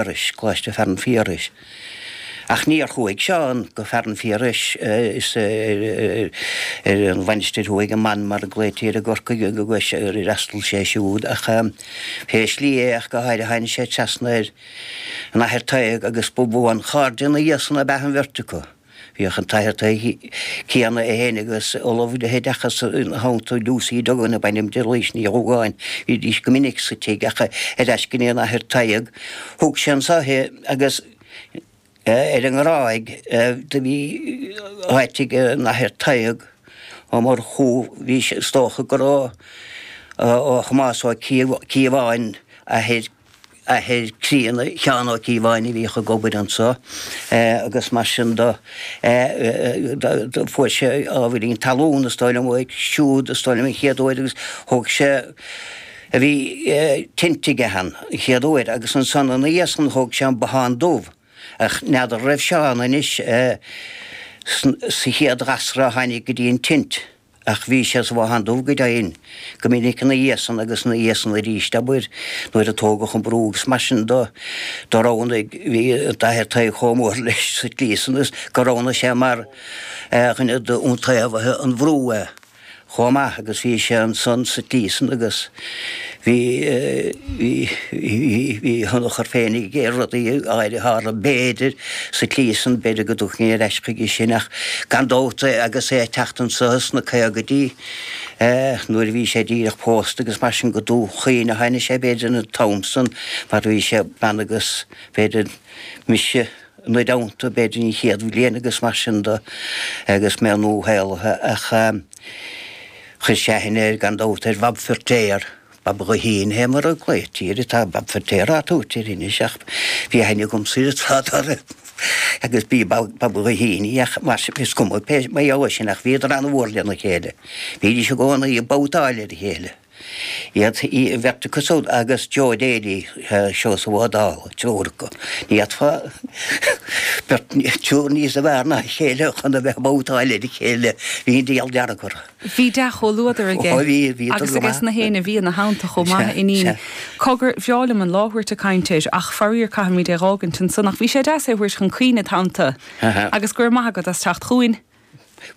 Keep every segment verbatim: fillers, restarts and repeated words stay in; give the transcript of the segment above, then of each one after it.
Phiarais, Coláiste Fearann Phiarais. Ach níor chuaigh Seán go Fearann Phiarais is ar an Mhainistir Thuaidh, an Man mar a glaoití air i gCorcaigh, ar fhreastail sé siúd ach pé slí é ach go háirithe tháinig sé trasna ar an Athair Tadhg agus ba bhuanchairde ina dhiaidh san ab ea an bheirt acu. Bhíodh an tAthair Tadhg céanna é féin agus Ollamh le hOideachas ina theannta, Lucy Duggan ab ainm di, Laoise Ní Dhúgáin. Bhídís go minic sa tigh ach ar ais go dtí an Athair Tadhg. Thug sé anso é agus ar an nGráig do bhí áit ag an Athair Tadhg Ó Murchú, bhí sé, is dócha gur ó Thomás Ó Cíobháin, athair athair críonna Sheán Ó Cíobháin a bhíodh ag obair anso agus mar sin do fuair sé ábhairín talún is dóigh liom uaidh siúd is dóigh liom an chéad uair agus thóg sé a bhí tinte aige ann an chéad uair agus ansan ina dhiaidh san thóg sé an Bothán Dubh ach n'fheadar raibh Seán anois sa chéad ghasra a tháinig go dtí an tint. Ach bhí sé sa Bhothán Dubh go deimhin, go minic ina dhiaidh san agus ina dhiaidh san arís, abair, nuair a tógadh an brú agus mar sin do, do roghnaigh, bhí an tAthair Tadhg chomh mór leis sa tslí san is gur roghnaigh sé mar dhuine d'iontaobhaithe an bhrú é chomh maith agus bhí sé ansan sa tslí san agus bhí, bhí, bhí, bhí a thionchar féin aige ar rudaí áirithe a tharla, b'fhéidir, sa tslí san, b'fhéidir go dtiocfainn ar ais chuige sin ach gan dabht agus é ag teacht anso sna caogaidí nuair a bhí sé díreach pósta agus mar sin go Dún Chaoin a tháinig sé b'fhéidir an t-am san mar bhí sé bean agus b'fhéidir mise ina dteannta b'fhéidir an chéad bhliain agus mar sin de agus mé nuashaolaithe ach chuir sé aithne air gan dabht ar Bhab Feirtéar, Bab Ghuithín fé mar a glaoití air, tá Bab Feirtéar á tabhairt air anois ach bhí aithne agamsa air tráth dá raibh agus b'í Bab Ghuithín í ach mar sin is cuma pé mar gheall air sin ach bhíodar an-mhór lena chéile. Bhídís i gcónaí ag babhtáil ar a chéile. Iad, an bheirt acu siúd agus Joe Daly, Seosamh Ó Dálaigh, triúr acu. Ní fhéadfá beirt, triúr níos fearr ná a chéile chun a bheith ag babhtáil ar a chéile. Bhí an diabhal dearg orthu. Bhí dea-chomhluadar aige. Ó bhí, bhí Agus aige na héinne a bhí ina theannta chomh maith, a Fhínín. Cogar, bhreá liom an lá a thabhairt ag caint air, ach faraor caithfimid é dh'fhágaint ansan. Ach bhí sé deas é a thabhairt chun cuimhne id theannta. Agus go raibh maith agat as teacht chugainn.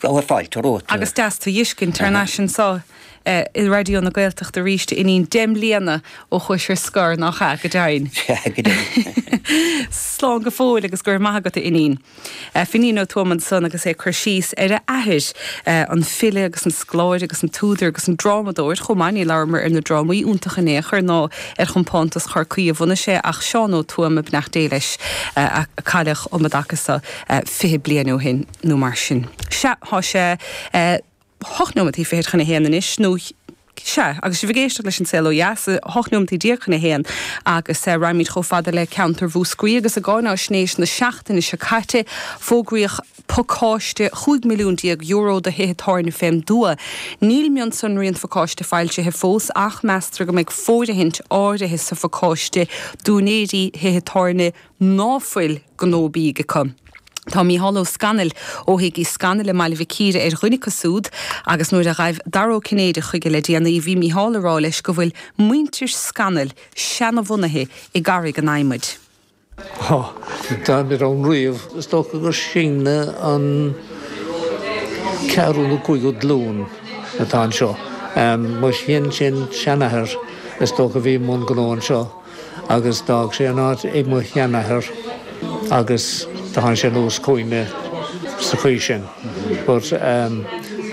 Raibh fáilte romhat. Agus deas tú dh'fheiscint thar n-ais anso i Raidió na Gaeltachta arís, a Fhínín, deich mbliana ó chuais ar scor, nach ea? Go deimhin. Sea, go deimhin. Slán go fóill agus go raibh maith agat, a Fhínín. Finín Ó Tuama ansan agus é ag cur síos ar a athair, an file agus an scoláire agus an t-údar agus an drámadóir chomh maith. Ní labhramar ar na drámaí iontacha in aon chor ná ar chompántas Chorcaí a bhunaigh sé ach Seán Ó Tuama, beannacht Dé leis, a cailleadh um an dtaca so fiche bliain ó shin nó mar sin. Sea, tá sé hocht nóimeataí fichead chun a haon anois, nó sea, agus sibh ag éisteacht leis An Saol Ó Dheas, hocht nóimeataí déag chun a haon, agus raghaimid chomh fada le ceantar Mhúscraí agus i gcáináisnéis na seachtaine seo caite, fógraíodh pacáiste chúig milliún déag euro do thithe tábhairne fén dtuath. Níl mionsonraí an phacáiste foilsithe fós ach meastar go mbeidh fóirithint áirithe sa phacáiste d'úinéirí thithe tábhairne ná fuil gnó bídh acu. Tá Mícheál Ó Scanaill ó Thigh Uí Scanaill i mBaile Mhic Íre ar dhuine acu súd agus nuair a ghaibh Dara Ó Cinnéide chuige le déanaí bhí Mícheál ag rá leis go bhfuil muintir Scanaill seanabhunaithe i gCarraig an Adhmaid. Tá, táimid ann riamh. Is dócha gur sinne an ceathrú nó cúigiú glúin atá anseo. Mo shin-sin-seanathair is dócha a bhí i mbun gnó anseo. agus d'fhág sé an áit ag mo sheanathair agus do tháinig sé anuas chugainne sa chaoi sin. But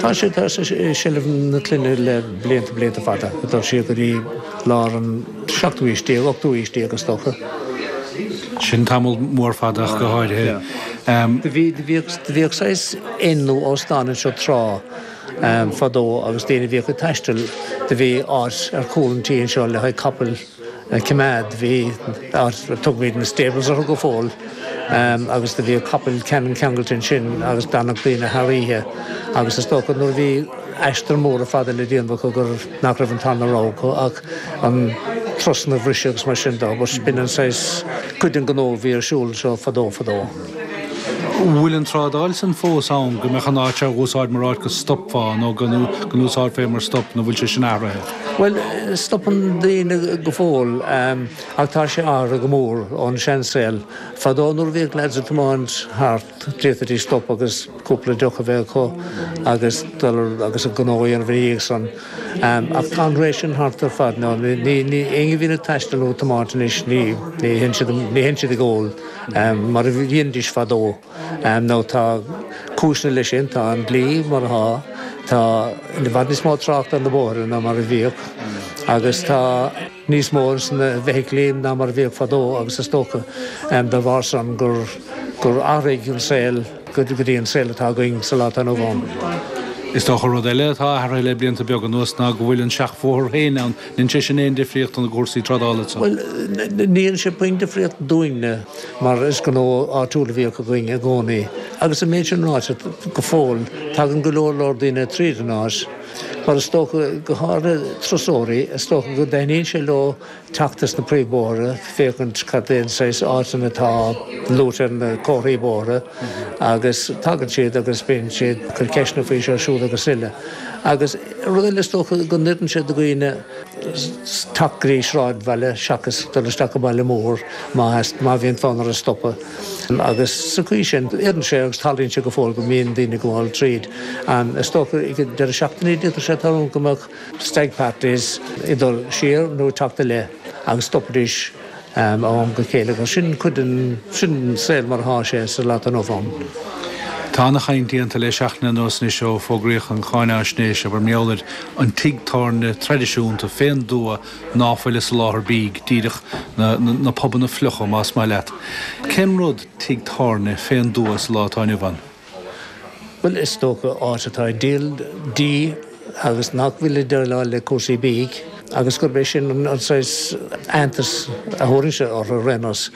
tá sé tá sé i seilbh na clainne le blianta blianta fada, ag dul siar go dtí lár an seachtú haois déag, ochtú haois déag is dócha. Sin tamall mór fada ach go háirithe. Do bhí do bhíodh do bhíodh saghas inn nó óstán anseo tráth fadó agus daoine a bhíodh ag taisteal do bhí áit ar chúl an tí anseo le haghaidh capaill a choimeád. Bhí áit, tugaimid na stables orthu go fóill, agus do bhíodh capaill ceannann ceangailte ansin agus d'fhanadh daoine thar oíche agus is dócha nuair a bhí aistear móra fada le déanamh acu gur nach raibh an tarna rogha acu ach an turasanna a bhriseadh agus mar sin de. But b'in an saghas cuid den ghnó a bhí ar siúl anseo fadó fadó. Bhfuil an trádáil san fós ann, go mbeadh an áit á úsáid mar áit go stopfá nó go n-úsáidfeá mar stop nó bhfuil sé sin athraithe? Bhuel, stopann daoine go fóill, ach tá sé athraithe go mór ón seansaol. Fadó nuair a bhíodh lads ag tiomáint thart, d'fhéadfaidís stop agus cúpla deoch a bheith acu agus dul agus a ngnó a dhéanamh ina dhiaidh san. Ach tá an ré sin thart ar fad now. Ní ní éinne a bhíonn ag taisteal nó ag tiomáint anois, ní ní théann siad ní théann siad ag ól mar a dhéanaidís fadó. Now tá cúiseanna leis sin, tá an dlí mar atá. Tá i bhfad níos mó tráchta ar na bóithre ná mar a bhíodh agus tá níos mó sna bhfeithiclí ná mar a bhíodh fadó agus is dócha dá bharr san gur gur athraigh an saol go dtí an saol atá againn sa lá atá inniu ann. Is dócha rud eile atá athraithe le blianta beaga anuas ná go bhfuil an seachbhóthar féin ann. An ndéanann sé sin aon difríocht do na cúrsaí trádála anso? Bhuel, ní dhéanann sé puinn difríocht dúinne mar is gnó áitiúil a bhíodh againn i gcónaí. Agus an méid sin ráite, go fóill, tagann go leor leor daoine tríd an áit, mar is dócha, go háirithe turasóirí, is dócha go dtaitníonn sé leo teacht as na príomhbhóithre, féachaint cad é an saghas áiteanna atá luaite ar na comharthaí bóithre agus tagann siad agus bíonn siad ag cur ceisteanna faoi seo, siúd agus uile. Agus rud eile is dócha go n-oireann sé do dhaoine teacht go dtí sráidbhaile seachas dul isteach go baile mór má má bhíonn fonn orthu stopadh. Agus sa chaoi sin, oireann sé agus tarlaíonn sé go fóill go mbíonn daoine ag gabháil tríd. Is dócha ag an deireadh seachtaine d'fhéadfadh sé tarlú go mbeadh stag parties ag dul siar nó ag teacht i leith agus stopaidís ó am go chéile agus sin cuid den, sin an saol mar atá sé sa lá atá inniu ann. Tá ana-chaint déanta le seachtain anuas anois ó fógraíodh an cháinaisnéis, abair, mar gheall ar an tigh tábhairne traidisiúnta fén dtuath ná fuil ag soláthar bídh, díreach na na pubanna fliucha más maith leat. Cén rud tigh tábhairne fén dtuath sa lá atá inniu ann? Bhuel, is dócha áit atá ag díol dí agus nach bhfuil ag déileáil le cúrsaí bídh agus gurb é sin an saghas aitheantas a thabharfainnse orthu ar aon nós.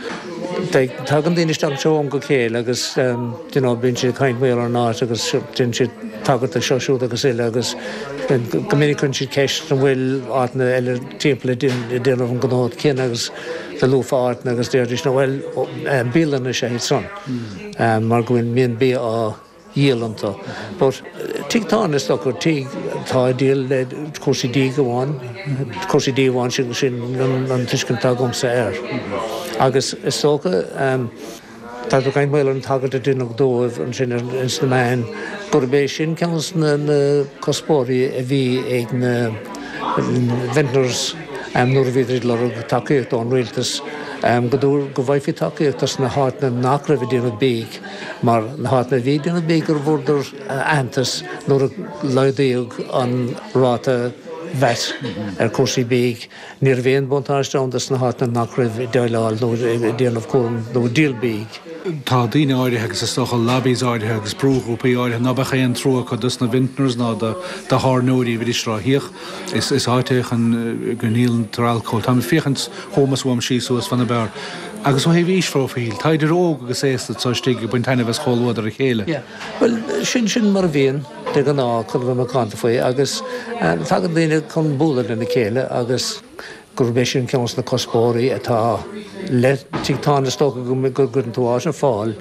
Tagann daoine isteach anseo ó am go chéile agus you know bíonn siad ag caint mar gheall ar an áit agus déanann siad tagairt do seo, siúd agus uile agus go minic cuireann siad ceist an bhfuil áiteanna eile timpeall ag déanamh an gnó céanna agus do luafá áiteanna agus déarfaidís no bhuel bialanna is ea iad san mar go bhfuil mbíonn bia á dhíol iontu. But tigh tábhairne is dócha, tigh atá ag díol le cúrsaí dí amháin, cúrsaí dí amháin sin sin an tuiscint atá agamsa air. Agus is dócha tá tú ag caint mar gheall ar an tagairt a deineadh dóibh ansin ins na meáin gurb é sin ceann de na cuspóirí a bhí ag na vintners nuair a bhíodar ag lorg tacaíocht ón rialtas go go bhfaighfí tacaíocht as na háiteanna nach raibh ag déanamh bídh mar na háiteanna a bhí ag déanamh bídh gur bhfuaireadar aitheantas nuair a laghdaíodh an ráta VAT ar chúrsaí bídh. Ní raibh aon bhuntáiste ann dos na háiteanna nach raibh ag déileáil nó ag déanamh cúram nó ag díol bídh. Tá daoine áirithe agus is dócha lobbies áirithe agus brúghrúpaí áirithe ná beadh aon trua acu dos na vintners ná do thábhairneoirí a bhídís ag rá féach, is is áit é chun go ndíoltar alcól. Táim ag féachaint chugam is uaim síos suas fan na beár. Agus ó thaobh aoisphróifíl, tá idir óg agus aosta anso istigh ag baint taitneamh as chomhluadar a chéile. Yeah. Bhuel, sin sin mar a bhíonn de ghnáth chun a bheith macánta faoi agus tagann daoine chun bualadh lena chéile agus gurb é sin ceann de na cuspóirí atá le tigh tábhairne is dócha go gcuireann tú áit ar fáil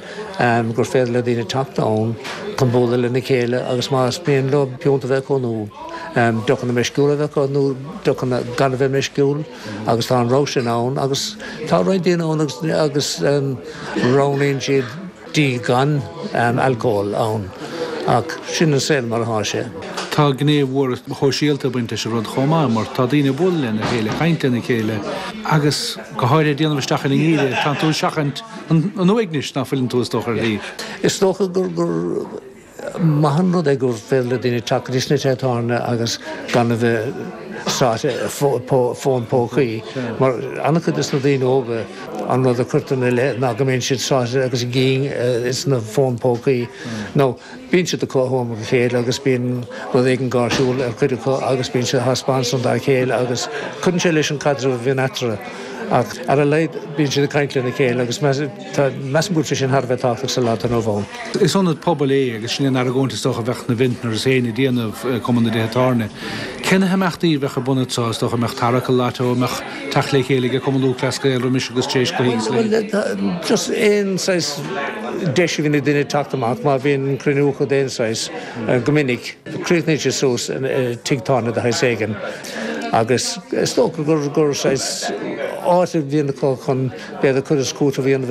gur féidir le daoine teacht ann chun bualadh lena chéile agus más mian leo piúnta a bheith acu nó deochanna meisciúla a bheith acu nó deochanna gan a bheith meisciúil agus tá an rogha sin ann agus tá roinnt daoine ann agus agus roghnaíonn siad dí gan alcól ann ach sin an saol mar atá sé. Tá gné mhór shóisialta ag baint leis an rud chomh maith mar tá daoine ag bualadh lena chéile, ag caint lena chéile agus go háirithe ag déanamh isteach ar an ngeimhreadh, tánn tú ag seachaint an uaignis ná fuileann tú is dócha ar shlí. Is dócha gur gur maith an rud é gur féidir le daoine teacht go dtí sna tithe tábhairne agus gan a bheith sáite i bhfón pócaí mar an-chuid de na daoine óga an rud a chuirtear ina leith ná go mbíonn siad sáite agus a gcinn ins na fóin pócaí nó Bíonn siad acu ó am go chéile agus bíonn rud éigin gáirsiúil ar chuid acu agus bíonn siad á thaispeáint san dá chéile agus cuireann sé leis an caidreamh a bhíonn eatarthu. Ach ar a laghad bíonn siad ag caint lena chéile agus measaim go bhfuil sé sin thar a bheith tábhachtach sa lá atá inniu ann. Is ionad pobail é agus sin an argóint is dócha a bheadh na Vintners féin ag déanamh, Cumann na dTithe Tábhairne. Cé na himeachtaí a bheadh ar bun anso is dócha, an mbeadh tarrac lotto, an mbeadh teacht le chéile ag Cumann Lúthchleas Gael roimis agus tar éis cluichí agus a leithéid? Bhuel, just aon saghas deis a bhíonn ag duine teacht amach, má bhíonn cruinniú acu d'aon saghas, go minic, críochnaíonn sé suas i tigh tábhairne de shaghas éigin. Agus is dócha gur gur áit a bhíonn chun b'fhéidir cur is cúiteamh